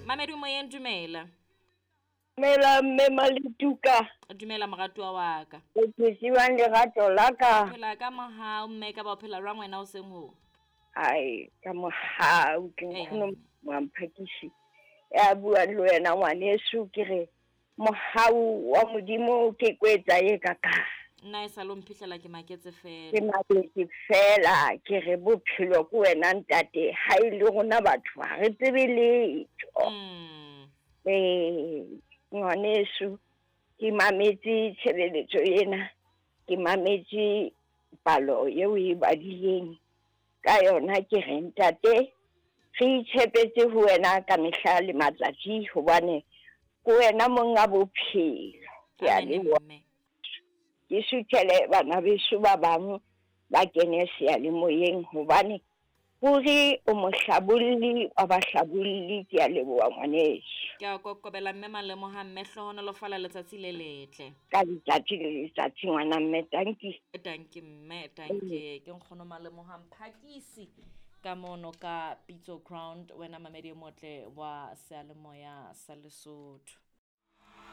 Mamedi moyeng, dumela. Dumela mme Maletuka. Dumela moratuwa wa ka. O phetse lerato la ka? Phela ka mohau mme, ka ba o phela jwang wena o seng ho? Ai, ka mohau ke nkgono Mamphakisi. Ya bua le wena ngwaneso, ke re mohau wa Modimo ke kwetsa e ka ka. Nna e sa lo mphihlela ke maketse fela. Ke maketse fela, ke re bophelo ke wena ntate, ha e le rona batho ha re tsebe letho. Ngwaneso, ke mametse tshebeletso ena, ke mametse palo eo e badileng ka yona, ke re ntate re itshepetse ho wena ka mehla le matsatsi, hobane ke wena monga bophelo. Ke a leboha. Ke suthele bana beso ba bang ba kene seyalemoyeng, hobane hore o mohlabolli wa bahlabolli. Ke a leboha ngwaneso. Ke a kokobela mme Malemoha, mme hlohonolofala letsatsi le letle. Ka letsatsi le letsatsi ngwana mme, tanki. Tanki mme, tanki. Ke nkgono Malemoha Mphakisi ka mono ka Pitso Ground, wena mamedi e motle wa seyalemoya sa Lesotho.